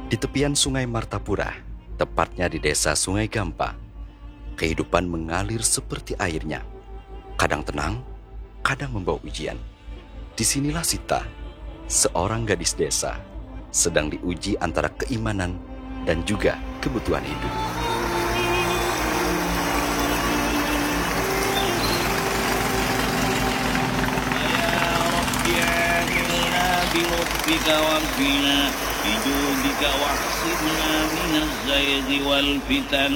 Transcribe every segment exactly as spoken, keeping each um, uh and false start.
Di tepian Sungai Martapura, tepatnya di Desa Sungai Gampa, kehidupan mengalir seperti airnya. Kadang tenang, kadang membawa ujian. Disinilah Sita, seorang gadis desa, sedang diuji antara keimanan dan juga kebutuhan hidup. يا رب عاملنا بلطفك وعافنا بجودك واعصمنا من الزيغ والفتن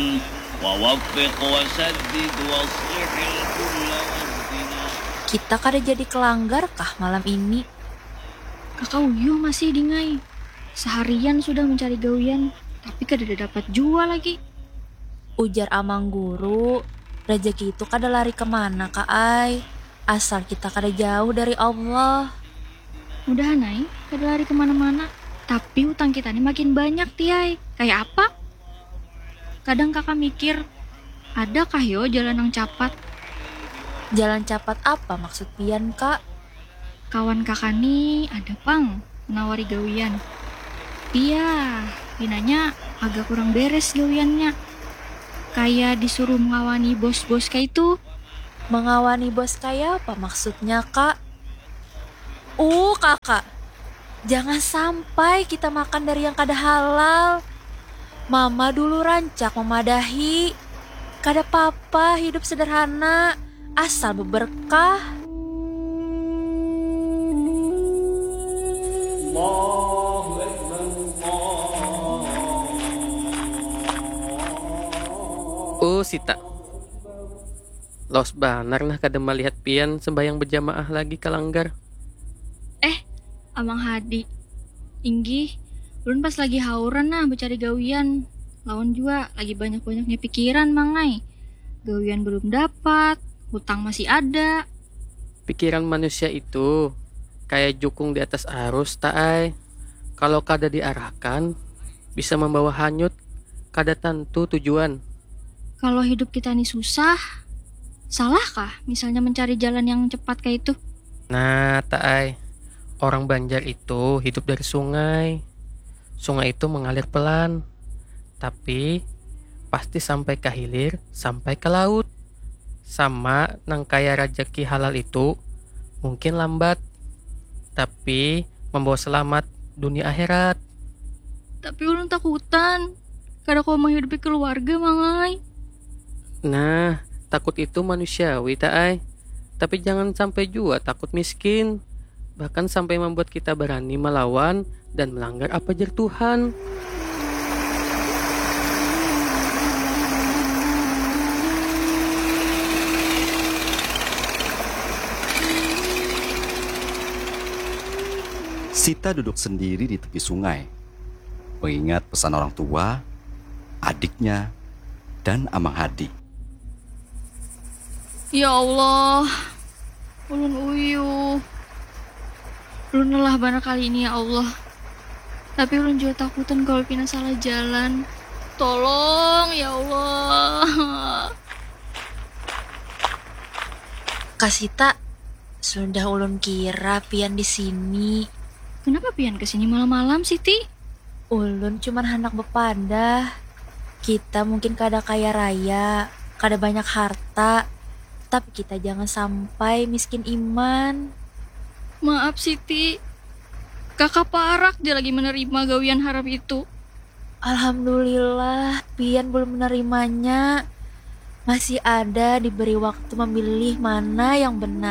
ووفق وسدد واصلح الكل واهدنا. Kita kada jadi ke langgar kah malam ini? Kaka uyuh masih dingai. Seharian sudah mencari gawian, tapi kadada dapat jua lagi. Ujar amang guru, rejeki itu kada lari kemana ka ai, asal kita kada jauh dari Allah. Mudahan ai kada lari kemana-mana. Tapi utang kita ni makin banyak, Tiai. Kayak apa? Kadang kaka mikir, adakah yo jalan yang capat? Jalan capat apa maksud pian, Kak? Kawan kaka ni ada pang menawari gawian. Pia, pinanya agak kurang beres gawiannya. Kaya disuruh mengawani bos-bos kaitu. Mengawani bos kaya apa maksudnya, Kak? Uh, Kakak, jangan sampai kita makan dari yang kada halal. Mama dulu rancak memadahi, kada papa hidup sederhana, asal beberkah. Uh, Sita. Los banar nah kada malihat pian sembahyang berjamaah lagi ka langgar. Eh, Amang Hadi. Inggih, ulun pas lagi hauran nah mencari gawian. Lawan jua lagi banyak-banyaknya pikiran, Mang ai. Gawian belum dapat, hutang masih ada. Pikiran manusia itu kayak jukung di atas arus, Taai. Kalau kada diarahkan, bisa membawa hanyut, kada tantu tujuan. Kalau hidup kita ini susah, salahkah misalnya mencari jalan yang cepat kayak itu? Nah, Taai, orang Banjar itu hidup dari sungai. Sungai itu mengalir pelan, tapi pasti sampai ke hilir, sampai ke laut. Sama nang kaya rajaki halal itu, mungkin lambat, tapi membawa selamat dunia akhirat. Tapi ulun takutan, kada kawa menghidupi keluarga, Mang ai. Nah, takut itu manusiawi, Taai. Tapi jangan sampai jua takut miskin. Bahkan sampai membuat kita berani melawan dan melanggar apa jar Tuhan. Sita duduk sendiri di tepi sungai, mengingat pesan orang tua, adiknya, dan Amang Hadi. Ya Allah, ulun uyuh. Ulun lelah banar kali ini, ya Allah. Tapi ulun jua takutan kalau pina salah jalan. Tolong, ya Allah. Kak Sita, sudah ulun kira pian di sini. Kenapa pian ke sini malam-malam, Siti? Ulun cuman handak bepadah. Kita mungkin kada kaya raya, kada banyak harta, tapi kita jangan sampai miskin iman. Maaf, Siti. Kakak parak ja lagi menerima gawian haram itu. Alhamdulillah, pian belum menerimanya. Masih ada diberi waktu memilih mana yang benar.